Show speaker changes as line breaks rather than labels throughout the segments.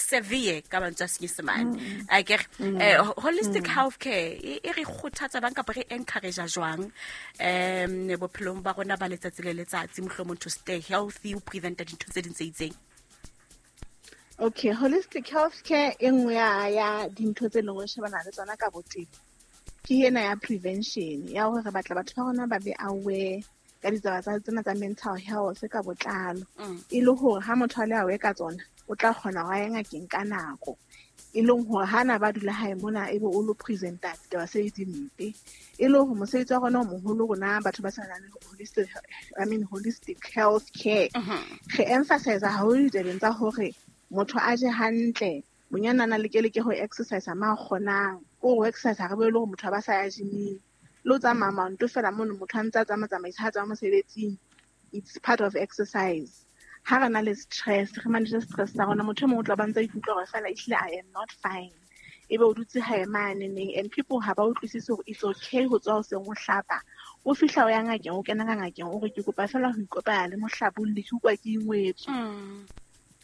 Severe ka mantswe a Senyesemane a kere. Holistic health care e re kgothatsa bang kapa re encourage jwang bophelong ba rona ba letsatsi le letsatsi, mohlomong to stay healthy, o preventa dintho tse ding tse itseng?
Okay, holistic health care, e nngwe ya dintho tse leng gore shebana le tsona ka botebo ke ena ya prevention, ya hore re batla batho ba rona ba be aware ka ditaba tsa tsena tsa mental health ka botlalo, e le hore ha motho a le aware ka tsona, o tla kgona ho ya ngakeng ka nako, e leng hore ha na ba dula hae mona ebe o lo presenta ditaba se di mpe. E le hore mosebetsi wa rona o moholo, rona batho ba sa nang le holistic, I mean, holistic health care, re emphasize haholo ditabeng tsa hore motho a je hantle, bonyane a na leke ho exercise ma kgonang. Ko ho exercise ha re bue le hore motho a ba sa ya gyming, le ho tsamaya maoto fela mono, motho a ntse a tsamaya tsamaisa ha tswa mosebetsing, it's part of exercise. Ha re na le stress, re manage stress sa rona. Motho e mong o tla ba ntse a ikutlwa hore fela ehlile I am not fine, ebe o dutse hae mane neng, and people ha ba utlwisise hore it's okay ho tswa hoseng, o hlapa, o fihla, o ya ngakeng, o kena ka ngakeng, o re, "Ke kopa fela ho ikopanya le mohlabolli, ke utlwa ke ingwetswe."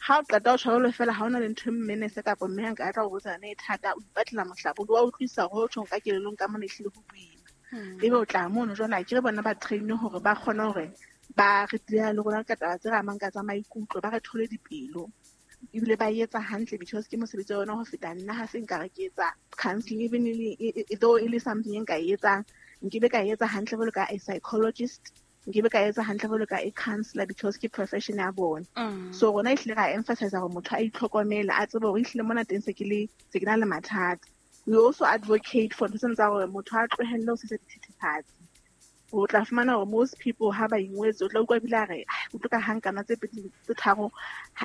Ha o qeta ho tjho jwalo fela, ha hona le ntho e mmenese kapa mme a nka tla o botsa yona e thata, o ipatlela mohlabolli wa utlwisisa hore ho tjhong ka kelellong ka mona ehlile ho boima. Ebe o tla mono jwale, akere bona ba train hore ba kgone hore ba re deala le rona ka taba tse re amang ka tsa maikutlo, ba re thole dipelo, ebile ba etsa hantle because ke mosebetsi wa yona ho feta nna. Ha se nka re ke etsa counselling, even though e le something e nka e etsang, nkebe ka e etsa hantle jwalo ka a psychologist, nkebe ka etsa hantle jwalo ka a counselor, because ke profession ya bona. So rona ehlile ra emphasize hore motho a itlhokomele, a tsebe hore ehlile mona teng se ke na le mathata. We also advocate for ntho tsena tsa hore motho a tlohelle ho sebedisa dithethefatsi. O tla fumana hore most people ha ba ingwetse, o tla utlwa ebile a re, "Ah, ke utlwa ka ha nkana tse pedi tse tharo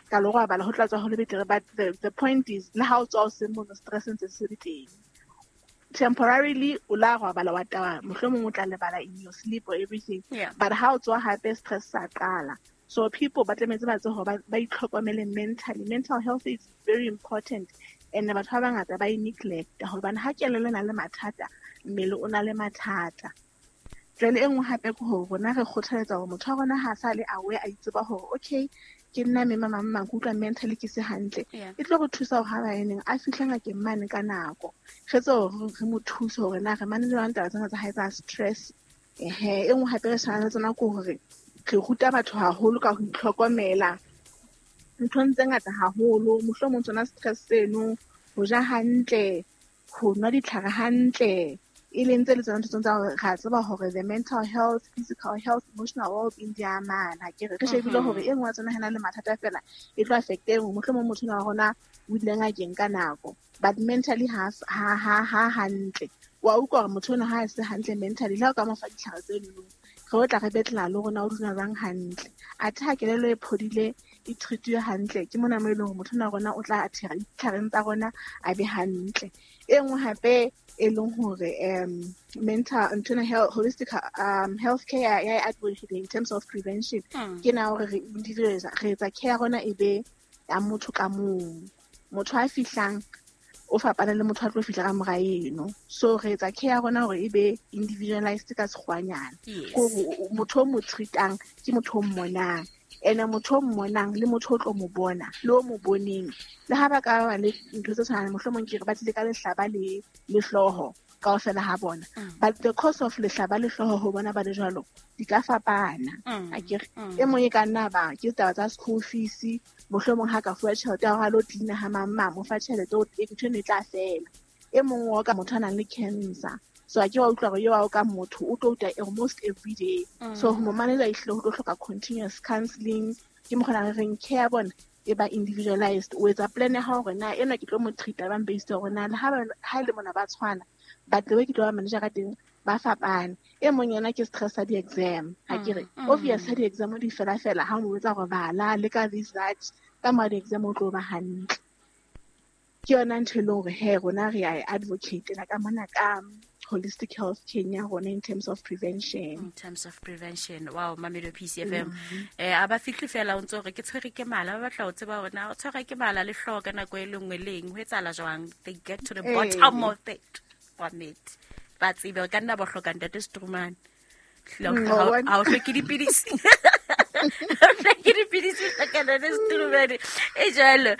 ka lo robala, ho tla tswa ho le betere." But the point is, le ha o tswa o seng mono, stress ntse se le teng. Temporarily o la robala, wa tawa, mohlomong o tla lebala in your sleep or everything, but ha o tswa hape, stress sa qala. So people ba tlametse ba tsebe hore ba itlhokomele mentally. Mental health is very important, and batho ba bangata ba e neglect, hobane ha kelello e na le mathata, mmele o na le mathata. Jwale e nngwe hape ke hore rona re kgothaletsa hore motho wa rona ha sa le aware, a itseba hore okay, ke nna mme mang mang, ke utlwa mentally ke se hantle, e tlo re thusa hore ha ba eneng a fihle ngakeng mane ka nako, re tse hore re mo thuse hore na re manage jwang taba tsena tsa hae tsa stress. Ehe, e nngwe hape re shebana le tsona ke hore re ruta batho haholo ka ho itlhokomela nthong tse ngata haholo, mohlomong tsona stress seno, ho ja hantle, ho nwa ditlhare hantle, e leng tse le tsona ntho tsa hore ra tseba hore the mental health, physical health, emotional well-being di amana. Ke re shebile hore e nngwe ya tsona ha na le mathata fela, e tlo affect e nngwe. Mohlomong motho enwa wa rona o ile ngakeng ka nako, but mentally ha hantle. Wa utlwa hore motho ona ha a se hantle mentally, le ha o ka mo fa ditlhare tse nong, re o tla re betlela le rona o dula jwang hantle. Athe ha kelello e phodile, e treat-iwe hantle, ke mona mo e leng hore motho ona wa rona o tla athera ditlhareng tsa rona, a be hantle. E nngwe hape e leng hore mental nthwena health, holistic health care ya advocate in terms of prevention, ke na hore re individualize, re etsa care ya rona e be ya motho ka mong. Motho a fihlang o fapana le motho a tlo fihla ka mora eno, so re etsa care ya rona hore e be individualized ka sekgwanyana. Kore motho o mo treatang ke motho o mmonang, ene motho o mmonang le motho o tlo mo bona le o mo boneng, le ha ba ka ba le ntho tse tshwanang, mohlomong ke re ba tlile ka lehlaba le hlooho kaofela ha bona, but the cause of lehlaba le hlooho ho bona ba le jwalo di ka fapana. Akere e mong e ka nna ba ke taba tsa school fees, mohlomong ha ka fuwa tjhelete ya hore a lo cleaner ha mang mang mo fa tjhelete, o ntho eno e tla fela. E mong wa ka motho a nang le cancer, so a ke wa utlwa hore eo wa ka motho o tlo utlwa almost every day. So ho mo manage ehlile ho tlo hloka continuous counselling. Ke mokgona re reng care ya bona e ba individualized. O etsa plan ya hao hore na ena ke tlo mo treat-a bang based hore na le ha e le mona ba tshwana, but the way ke tlo ba manage ka teng ba fapane. E mong yena ke stress sa di-exam, ha ke re obvious ha di-exam di fela fela, ha o mo botsa hore bala le ka this that, ka mora di-exam o tlo ba hantle. Ke yona ntho e leng hore he rona re a e advocate ka mona ka holistic health care ya rona in terms of prevention.
In terms of prevention. Wow, Mamedo PCFM. A ba fihle fela o ntse hore ke tshwere ke mala, ba batla ho tseba hore na o tshwere ke mala le hlooho ka nako e le nngwe le eng, ho etsahala jwang. They get to the bottom of it. Wa nnete. Ba tsebe hore ka nna ba hloka ntate Strumane. Ha o hloke dipidisi. Ha o hloke dipidisi, hloka ntate Strumane. E jwalo.